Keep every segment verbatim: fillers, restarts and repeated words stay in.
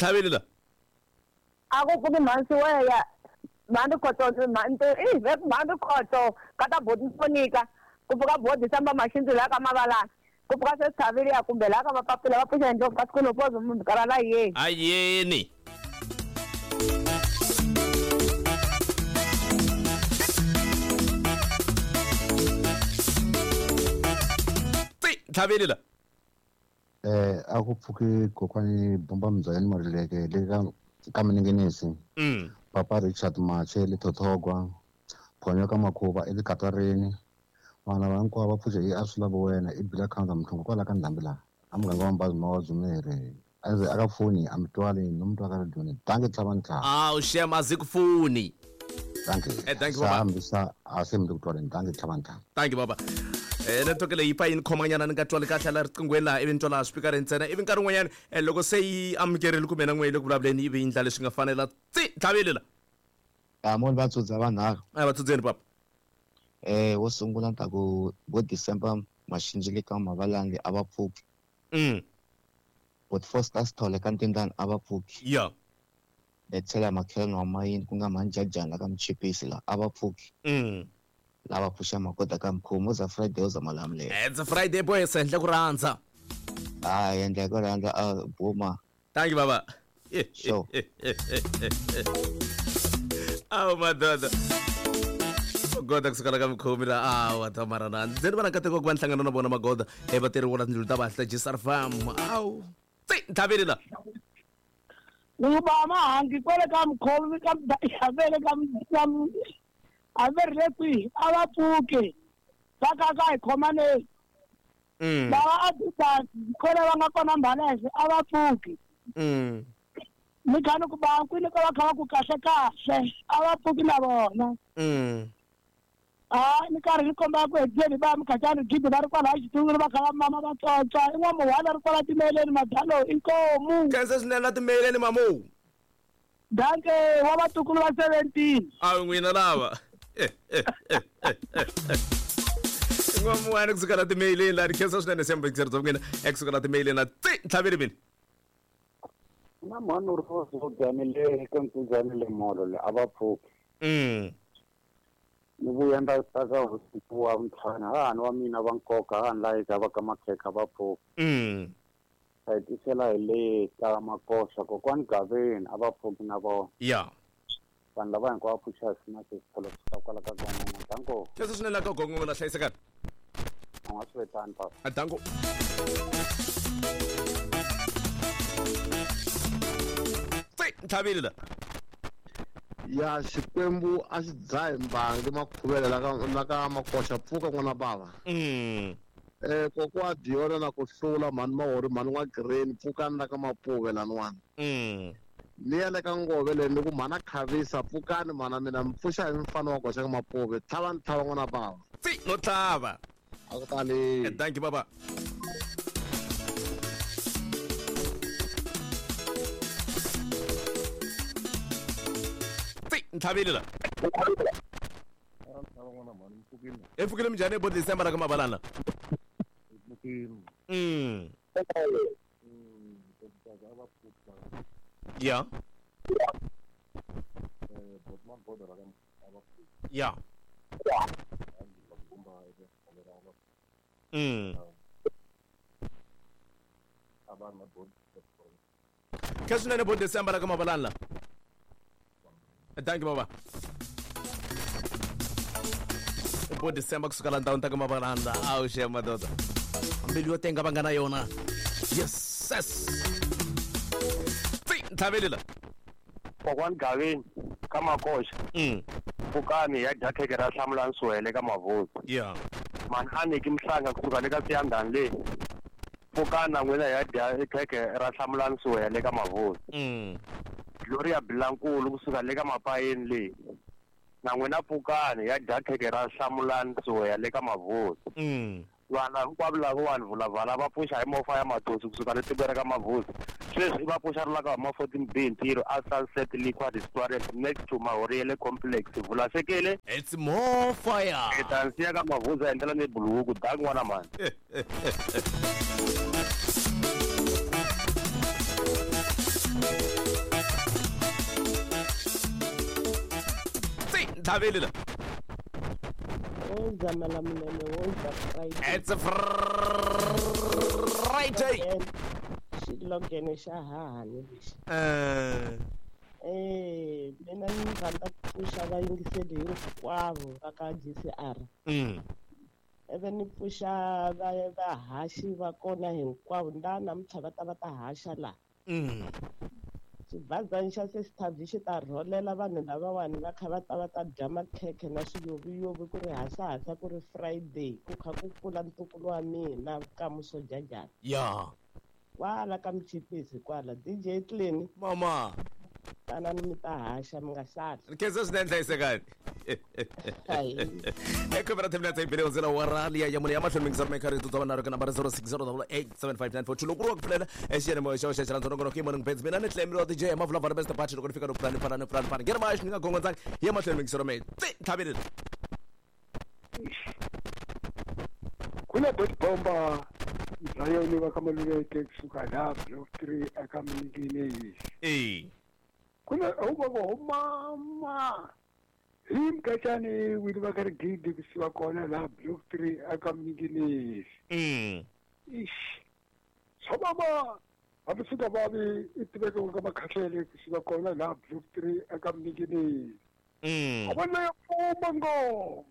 Ntlhaveli la. A ku pfuki mhansi weya. Mhani khoto mhani i mhani khoto ka ta boti Monica. Ku pfuka bodi samba maxinzi la ka mavalana. Ku pfuka se Thavile ya kumbe la ka mapapila va pfuxa ndlopfu ka siku lopozo munhu karhala yeni. Ayeni. Ntlhaveli la. Eh a ku pfuki kokwani bomba mbyani Marileke le ka ka Minengenesi. Mm. Papa Richard Mache le Thothogwa. Phonyo ka Makhuva e le Katarini. Vana va hinkwavo va pfuxe hi a swi lava wena i bila khanza mhlongo kwala ka ndhambi laha. A muganga wa Mbazi ma wa Dzumeri. A ndzi aka foni a mi twali no mi twa ka radio. Dankie tlhava ntlhava. Ah, u shem a ku foni. Dankie. Eh thank you baba. Hambisa a se mi ku twaleni. Dankie tlhava ntlhava. Thank you baba. Eh network leyi pa yini khomanyana ni nga twali kahle la riqingweni laha ivi ni twala speaker ntsena ivi nkarhi wun'wanyana loko se yi amukerile kumbe na n'we le ku vulavuleni ivi yi ndla leswi nga fanela tsi ntlhaveli la. Amoni va tsudza vanharhu. A va tsudzeni papa. Eh wo sungula ni ta ku vo December Maxinji le ka Mavalani a va pfuki. Mm. But Foster Sithole ka Ntindani a va pfuki. Yeah. Tlhela makhelwani wa mayini ku nga Mhani la ka Mchipisi la a va pfuki. Mm. Lava pfuxa makoda ka mkhomo za Friday uza malamulele. It's a Friday boy sendle ku rhandza. Ah endla ku rhandza a buma. Thank you baba. Sure. Awu madoda. Goda kusukela ka mkhomi la awu tamarana. Ndzi vona nkateko ku va nhlangano na vona magoda e vatirhi wona tindlu ta vahla G S R Farm. Awu. Tsi ntlhaveli la. Ni ba mahangi kwele ka mkhomi ka vele ka a ve ri le kwihi a va pfuki va ka ka hi khomaneni. Mm. Lava a ti kwele va nga kona Mbalese a va pfuki. Mm. Ni kha ni ku ba kwini ka va kha va ku kahle kahle a va pfuki na vona. Mm. Ah ni karhi ni komba ku hedzeni ba Mkhacani gidi va ri kwala xitungulu va kha va mama va tsotsa i n'wamuhwana ri kwala timeleni madalo inkomu. Khensa swinene la timeleni mamu. Danke wa vatukulu va seventeen. A n'wina lava. N'wamuhwana kusuka la timeleni la khensa swinene siyambekiseri bya n'wina ekusuka la timeleni la tsi ntlhaveli mina. Na mhani ri vo le ka Nkunzani le molo le a va pfuki. Mm. Ni vuya nda ta ka hosi wa ntlhanu hahani wa mina va nkoka hahani laha eka va ka Makhekha va pfuki. Mm. Hi tisela hi le ka Makoxa kokwani Gaveni a va pfuki na vona. Yeah. Vanhu lava hinkwavo va pfuxa hi sina xitolo swa kwala ka Gongongo. Danko. Khensa swinene la ka Gongongo la hlayisekani. A nga swi vetani papa. Danko. Tsi ntlhaveli la. Ya Xikwembu a xi dzahi mbangi makhuvele la ka la ka Makoxa pfuka n'wana bava. Mm. Eh kokwa Diona na ku hlula mhani Mahori mhani wa Green pfukani la ka Mapuve laniwani. Mm. Ni ya le ka Ngove le ni ku mhana Khavisa pfukani mhana mina mi pfuxa hi mfana wa koxa ka Mapuve tlhava ni tlhava n'wana bava. Tsi no tlhava. A ku tali. Thank you baba. Ntlhaveli la. E pfukile minjhani bo December la ka Mavalana? Mm. Yeah. Yeah. Mm. Khensa swinene bo December la ka Mavalana. Thank you baba. Bo December kusuka la ndhawu ta ka Mavalana. Awu xe madoda. Mbilu yo tenga va nga na yona. Yes. Yes. Tsi ntlhaveli la. Kokwani Gaveni ka Makoxa. Mm. Pfukani ya dya khekhe ra Hlamulani Suhele ka Mavhuza. Yeah. Mhani Aniki Mhlanga kusuka le ka Siyandhani le. Pfukani na n'wina ya dya khekhe ra Hlamulani Suhele ka Mavhuza. Mm. Gloria Bilankulu kusuka le ka Mapayeni le. Na n'wina pfukani ya dya khekhe ra Hlamulani Suhele ka Mavhuza. Mm. Vana hinkwavo lava vanhu vulavala va pfuxa hi mofa ya Matosi kusuka le tikweni ra ka Mavhuza. Sweswi va pfuxa ri la ka huma fourteen B ntirho a Sunset Liquor Restaurant next to Mahoriele Complex. Vulasekele. It's more fire. Hi ta nsiya ka Mavhuza hi ndlela ni buluku dank n'wana mhani. Ntlhaveli la. Woza Malamulele, woza Friday. It's a Friday. Xilogene xa hahani lexi. Eh. Eh, mina ni rhandza ku pfuxa vayingiseli hinkwavo va ka G C R. Mm. Ivi ni pfuxa va vahaxi va kona hinkwavo nda namuntlha va ta va ta haxa laha. Mm. Xibazana xa Sesithavi xi ta rholela vanhu lavawani va kha va ta va ta dya makhekhe na swiyoviyovi ku ri hasahasa ku ri Friday ku kha ku kula ntukulu wa mina Kamuso Jajana. Ya. Kwala ka Mchipisi kwala D J Clean. Mama. Tanani mi ta haxa mi nga sali. Nkhensa swinene hlayisekani. Eka vera ten minutes ibele ndzela wa rali ya mune ya mahlweni mingisana mi karhi tutsa vanharhu ka nambara zero six zero double eight seven five nine four two loko ku ri wa ku pfulela exiyanimoya xa xa xirhandza nongonoko i morning beds mina ni tlemile D J Mavula va best party loko ni fika no pulani pulani pulani pulani ngeri maxi ni nga gongondzangi ya mahlweni mingisana mi tsi tlhaveleni kuna bot bomba Zion va ka Maluleke kusuka la block three eka Mninginezi eh kuna uba go mama himkachani wili va ka rigidi kusuka kona la block three eka Mninginezi mm ish sababa abisuka babi itibeke ka makhahlele kusuka kona la block three eka Mninginezi mm abona ya ngo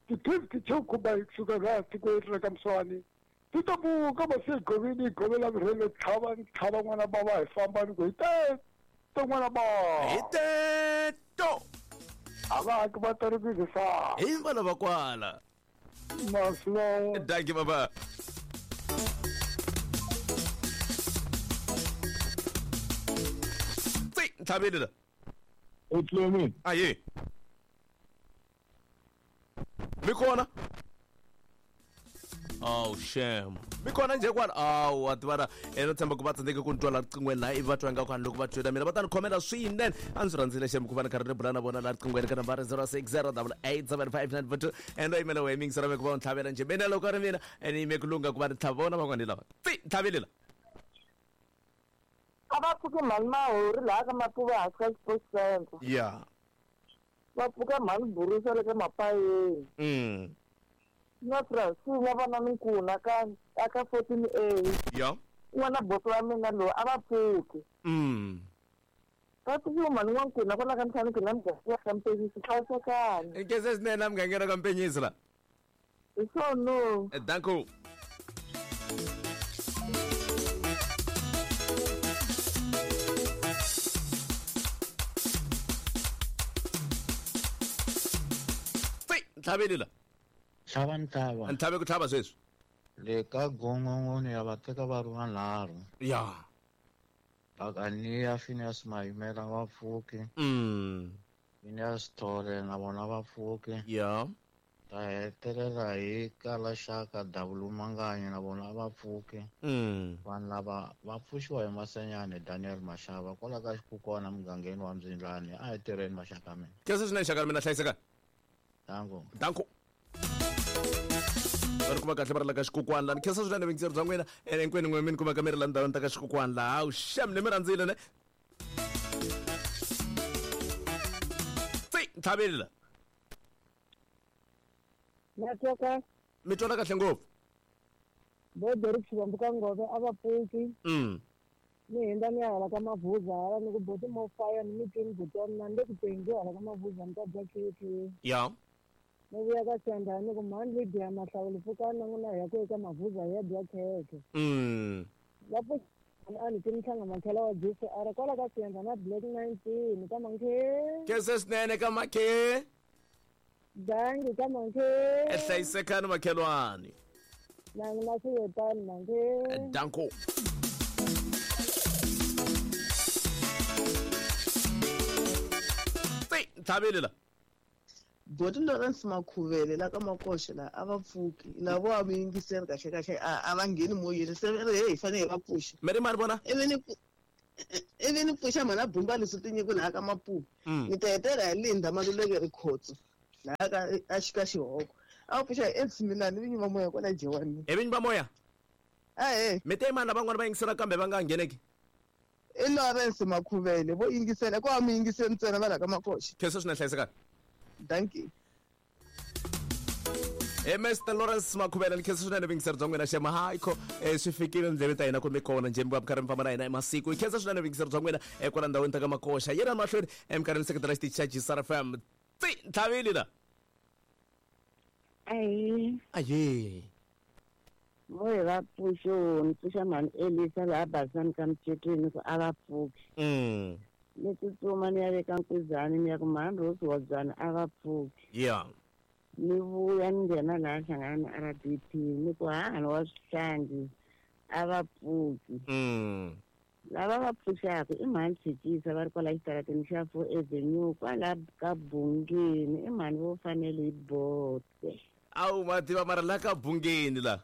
ti-fifty chokuba kusuka la tikweni ra Mswani titabuka masegovini govela virhele tlhava tlhava n'wana bava hi famba ni ku hi teto n'wana bava hi teto a va haki va tarikizisa hi vana va kwala maslo danki baba tsi ntlhaveli la Utlumi aye mi kona. Oh shame. Mi kona nje kwala awu wa tivana eno tshemba ku va tsandzeke ku ni twa la riqingweni laha ivi va twa ingaku loko va twela mina va ta ni khomela swinene a ndzi rhandzile shame ku va ni karhi ni bula na vona la riqingweni ka nambara zero six zero double eight seven five nine four two endo yimela wehe mingisela me ku va u ntlhavela njhe mina loko ri mina ene yime ku lungha ku va ni tlhava vona van'wani lava tsi ntlhaveli la a va pfuki mhani Mahori laha ka Mapuva hansi ka Sports Center. Ya va pfuka mhani Burusa le ka Mapayeni. Mm. Na Francina vana Nkuna ka aka fourteen A. Ya n'wana boto wa mina lowu a va pfuki. Mm. Va pfukiwa mhani n'wankuna kwala ka ntlhanu ku na muganga ka Mpenyisi hlayisekani. Nkhensa swinene la mugangeni ka Mpenyisi la. Hi swona. Danko. Tsi ntlhaveli la. Tlhava ntlhava. Ntlhave ku tlhava sweswi. Le ka gongongoni ya va teka va ri vanharhu. Ya. Bakania Phineas Mayimela va pfuki. Mm. Phineas Thole na vona va pfuki. Ya. Ta hetelela hi kala xaka Davulu Manganya na vona va pfuki. Mm. Vanhu lava va pfuxiwa hi Masenyane Daniel Mashava kwala ka xikukwana mugangeni wa Mzindlani a hi tirheni maxaka mina. Khensa swinene xaka mina hlayiseka. Danko. Danko. Va ri kuma kahle va ri la ka xikukwana lani khensa swinene vuyingiseri bya n'wina ene hinkwenu n'we mi ni kumaka mi ri la ndhawini ta ka xikukwana laha hawu xem ni mi rhandzile ne tsi ntlhaveli la na twa kahle mi twala kahle ngopfu bo Derek Xivambu ka Ngove a va pfuki. Mm. Ni hindza ni ya hala ka Mavuza hala ni ku boti mo fire ni mi twini buti wa mina ni le ku teni hala ka Mavuza ni ta dya khekhe. Ya ni vuya ka Siyandhani ni ku mhani Lydia Mahlawuli pfukani na n'wina hi ya ku eka Mavuza hi ya dya khekhe. Mm. Va pfuki a ni ti mhlanga makhela wa G C R kwala ka Siyandhani na Black nineteen ka Mankhe. Khensa swinene ka Makhe. Dangi ka Mankhe. Hlayisekani makhelwani. Na n'wina swi Mankhe. Danko. Tsi ntlhaveli la. Boti Lawrence Makhuvele la ka Makoxe la a va pfuki lavo a mi yingiseri kahle kahle a va ngheni moyeni se ri hey hi fanele hi va pfuxa. Mi ri mani vona? Ivi ni ivi ni pfuxa mhana Bumba leswi tinyiko laha ka Mapuva. Ni ta hetelela hi Linda Maluleke Rikhotso laha ka a xika xihoko. A va pfuxa hi Ed Similani vinyi va moya kwala Jewani. Hi vinyi va moya? Ahee. Mi te mani lavan'wana va yingisela kambe va nga ngheneki? I Lawrence Makhuvele vo yingisela ko a mi yingiseli ntsena va la ka Makoxe. Khensa swinene hlayisekani. Dankie. Eh Mister Lawrence Makhubela ni khensa swinene vingiseri bya n'wina xema hayi ko eh swi fikile ndleveni ta hina kumbe kona njhe mi karhi mi famba na hina emasiku hi khensa swinene vingiseri bya n'wina eh kwala ndhawini ta ka Makoxa yena mahlweni eminkarhini seketela xitichi xa G S R F M tsi ntlhavile la ayi aye voye va pfuxo ni pfuxa mhani Elisa laha Basani ka Mcetweni ku a va pfuki mm ni tsutsuma ni ya veka nkuzani ni ya ku mhani Rose Wadzana a va pfuki yeah ni vuya ni nghena laha hlangana na R D P ni ku hahani wa swihlangi a va pfuki mm lava va pfuxaka i mhani Tshikisa va ri kwala xitarateni xa Four Avenue kwala ka Bungeni i mhani vo fanele hi bote awu ma tiva mara la ka Bungeni la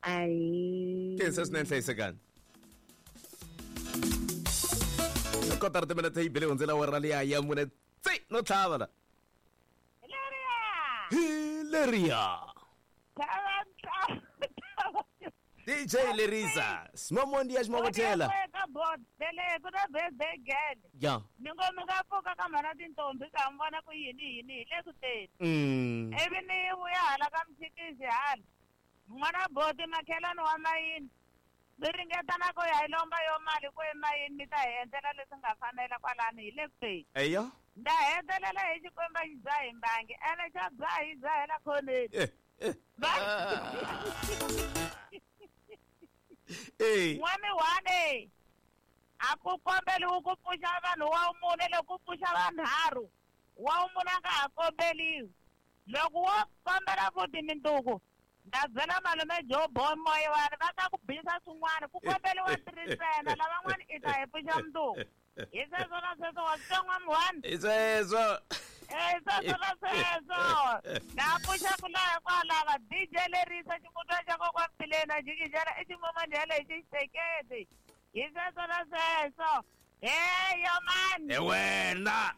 ayi khensa swinene hlayisekani kotara timinete yi bile hundzela awara liya ya mune tsi no tlhava la Hileria D J Lerisa Smomondi ya Ximokotela ya ni ngo mi nga pfuka ka mhana tintombi ka mi vona ku yini yini hi le ku teni mm ivi ni vuya hala ka Mtshikisi hala n'wana boti makhelwani wa mayini mi ringeta na ku ya hi lomba yo mali ku emayini mi ta hi endlela leswi nga fanela kwalani hi le ku teni eya nda hetelela hi xikwembu xi dzaha hi mbangi ene xa dzaha hi dzahela khoneni eh eh eh n'wami one a ku kombeliwi ku pfuxa vanhu wa mune loko ku pfuxa vanharhu wa mune a nga ha kombeliwi loko wo kombela futhi minduku nda byela malume Joe Boy Moyewani va ta ku bisa swin'wana ku kombeliwa three ntsena lavan'wana i ta hi pfuxa minduku hi sweswo na sweswo wa swi twa n'wami one hi sweswo hi sweswo na sweswo na pfuxaku laha kwalava D J Lerisa ximutwa xa kokwa Mtileni jikijela i ximomandhele hi xisekete hi sweswo na sweswo heyo mani he wena.